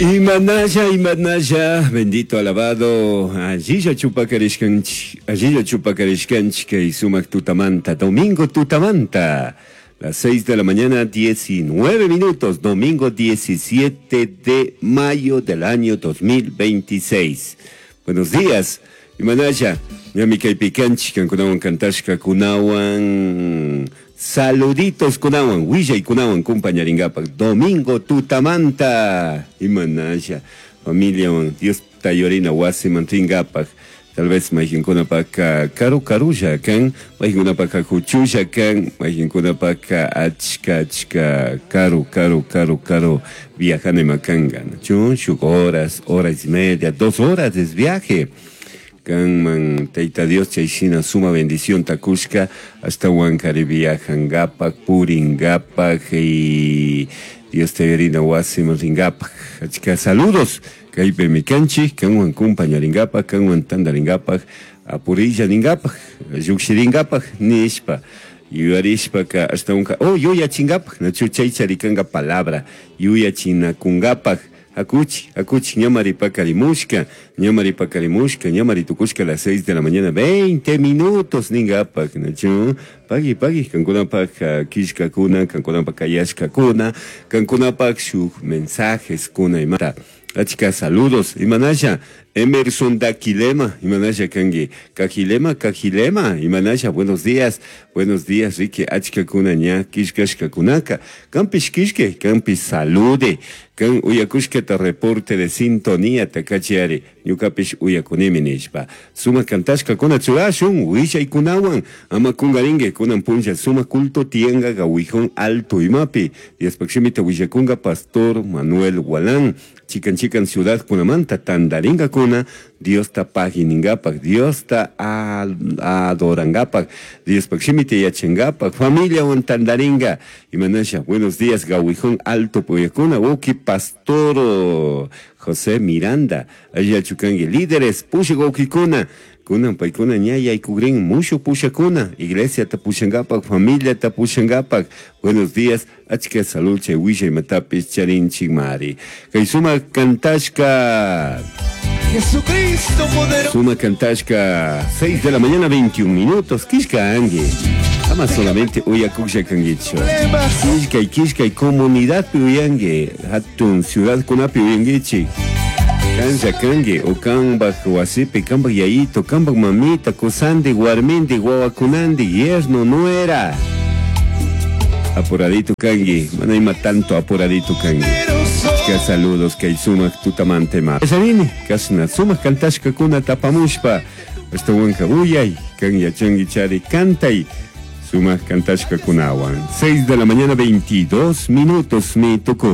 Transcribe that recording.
Imanalla, imanalla, bendito, alabado, allilla chupacarishkanchik, allilla chupacarishkanchik kay sumak tutamanta, domingo tutamanta, las 6 de la mañana, 19 minutos, domingo 17 de mayo del año 2026. Buenos días, imanalla, ñami kaypi kanchik, kankunawan kantashkakunawan, saluditos kunawan, willaykunawan kumpañarinkapak, domingo tutamanta, imanalla, familiawan, Diosta yuyarina wasiman rinkapak, tal vez mayqinkunapaka karu karulla kan, mayqinkunapaka huchulla kan, mayqinkunapaka achka achka karu karu karu karu viajana ima kanka, nachu shuk horas, horas y media, 2 horas de viaje. Kanman Tayta Dios chay shina suma bendición takushka ashtawankari viajangapak, puringapak y Diosta yuyarina wasiman ringapak. Achka saludos kaypimi kanchik kanwan kumpañaringapak, kanwan tandaringapak, apurilla ningapak, llukshiringapak nishpa yuyarishpaka ashtawanka oh yuyachingapak, nachu chay charikanka palabra yuyachinakungapak. Hakuchi, hakuchi, ñamari pakarimushka, ñamari pakarimushka, ñamari tukushka las 6 de la mañana, 20 minutos ningapak, nachu, pagui, pagui, kankunapak killkakuna, kankunapak kayashkakuna, kankunapak shuk mensajes kuna imata. Achka saludos, imanasha, Emerson Daquilema, imanasha kangi, Kajilema, Kajilema, imanasha, buenos días, Ricky, achka kuna ña, killkashkakunaka, kanpish killkay, kanpish salude, kan uyakushkata reporte de sintonía takachiari, ñukapish uyakunimi nishpa. Sumak kantashkakuna churashun, willaykunawan, ama kungaringue, kunan punlla, sumak culto tienga gawijón alto imapi, Diospak shimita willakunga Pastor Manuel Gualán, chikan chikan ciudad kunamanta tandaringakuna, Diosta paginingapak, Diosta adorangapak, Diospak shimita yachangapak, familiawan tandaringa. Imanasha, buenos días, Gawijón Alto Puyacuna, Uki Pastor José Miranda, Ayachukangi, líderes, pushak kunan paykuna ña yaykukrin mushuk pushakuna, iglesia tapushangapak, familia tapushangapak. Buenos días, achka salud chay wishay matapis charinchikmari. Kay sumak kantashka. Jesucristo poderoso. Sumak kantashka, 6 de la mañana, 21 minutos. Killka angi. Ama solamente uyakuksha kangichu. Killkay, killkay, comunidad uyangi. Hatun ciudad kunapi uyangichik. Kanlla kangi, o kanpak wasipi, kanpak yayito, kanpak mamita, kusandi, warmindi, wawakunandi, yerno, nuera. Apuradito kangi, mana ima tanto apuradito kangi. Achka saludos kay sumak tutamante ma. Sarini, kasna sumak kantashkakuna tapamushpa. Ashtawanka uyay, kan yachangi chari kantay. Sumak kantashkakunawan. 6 de la mañana, 22 minutos mi tocó.